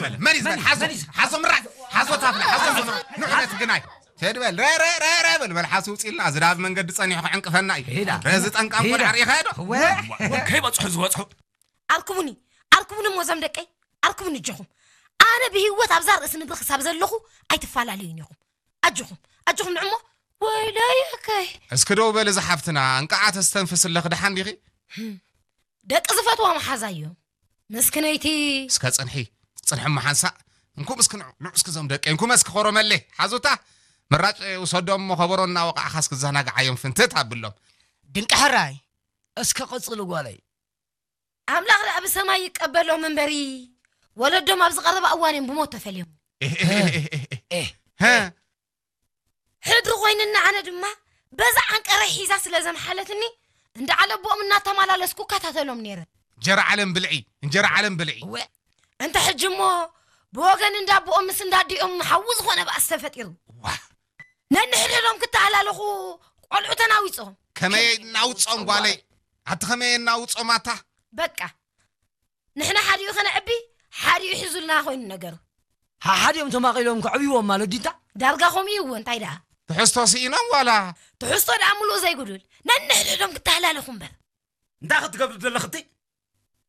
በል፣ መን እዩ ዝበል? ሓዞ፣ ሓዞ ምራይ፣ ሓዞ ታፍላ፣ ሓዞ ምራይ። ንዑ ነቲ ግናይ። ሄድ በል፣ ረ፣ ረ፣ ረ፣ ረ በል፣ በል ሓሱ ውፅልና፣ እዚ ዳብ መንገዲ ፀኒሑ ክዕንቅፈና እዩ። ሄዳ። ረ፣ እዚ ጠንቃም ሄዳ። ቆልዓ ርኢኻ ዶ? እወ። ከይበፅሑ ዝበፅሑ። ኣርክቡኒ፣ ኣርክቡኒ እሞ እዞም ደቀይ፣ ኣርክቡኒ ኣጆኹም። ኣነ ብህይወት ኣብዛ ርእሲ ምድሪ ክሳብ ዘለኹ ኣይትፈላለዩን ኢኹም። ኣጆኹም፣ ኣጆኹም ንዕሞ። ወይለይ ኣከይ። እስኪ ደው በል፣ እዚ ሓፍትና፣ እንቃዓ ተስተንፍስ ኣለኺ፣ ደሓን ዲኺ? ደቂ ዝፈትዋ መሓዛ እዮም። ምስክነይቲ። እስከ ጽንሒ፣ ጽንሒ እሞ ሓንሳእ። እንኩም እስኪ ንዑ፣ ንዑ እስኪ እዞም ደቂ፣ እንኩም እስኪ ኮሮመሌ፣ ሓዙታ። ምራጭ ውሰዶም እሞ ከበሮ እናወቃዕኻ እስኪ ዘናግዓዮም ፍንትት ኣብሎም። ድንቂ ሕራይ፣ እስከ ቀጽሉ ጓለይ። ኣምላኽ ደኣ ብሰማይ ይቀበሎም እምበሪ፣ ወለዶም ኣብ ዝቐረባ እዋን እዮም ብሞት ተፈልዮም። ኤህ፣ ኤህ፣ ኤህ፣ ኤህ፣ ኤህ። ኤህ። ሀ? ሕድሪ ኮይንና፣ ኣነ ድማ በዛ ዓንቀረይ ሒዛ ስለ ዘምሓለትኒ፣ እንዳ ዓለቦኦም እናተመላለስኩ እከታተሎም ነይረ። እንጀራ ዓለም ብልዒ፣ እንጀራ ዓለም ብልዒ። እወ። እንተ ሕጂ እሞ ብወገን እንዳ ኣቦኦም ምስ እንዳ ኣዲኦም ሓዊ ዝኾነ ባእሲ ተፈጢሩ። ዋ። ነንሕድሕዶም ክተሃላለኹ ቆልዑ ተናዊጾም። ከመይ እናውጾም ጓለይ? ኣቲ ከመይ እናውጾም ኣታ? በቃ። ንሕና ሓዲኡ ከነዕቢ፣ ሓዲኡ ሒዙልና ኮይኑ ነገሩ። ሓሓዲኦም ተማቒሎም ከዕብይዎም ማለት ዲንታ? ዳርጋ ከምኡ እዩ እዎ፣ እንታይ ደኣ? ትሕዝቶ ስኢኖም ዋላ? ትሕዝቶ ደኣ ምሉእ ዘይጉዱል። ነንሕድሕዶም ክተሃላለኹ እምበር። እንታይ ክትገብሪ ዘለኽቲ?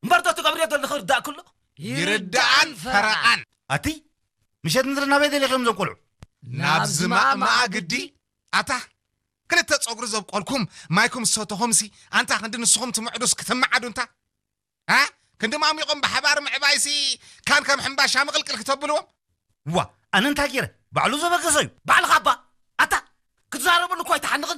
እምበር ዶ ትገብርዮ ዘለኺ ርዳእኪ ኣሎ? ይርዳኣን ፈረቓን። ኣቲ፣ ምሸት ምድሪ ናበይ ደሊኽዮም እዞም ቆልዑ? ናብ ዝማእማኣ ግዲ። ኣታ፣ ክልተ ጸጉሪ ዘብቆልኩም፣ ማይኩም ዝሰተኹምሲ፣ ኣንታ ክንዲ ንስኹም ትምዕዱስ ክትመዓዱ እንታ? እ? ክንዲ ማሚቖም ብሓባር ምዕባይሲ፣ ካን ከም ሕምባሻ ምቕልቅል ክተብልዎም? ዋ፣ ኣነ እንታይ ገይረ? ባዕሉ ዘበገሰ እዩ። ባዕልኻ እባ፣ ኣታ፣ ክትዛረበሉ እኮ ኣይትሓንቕን።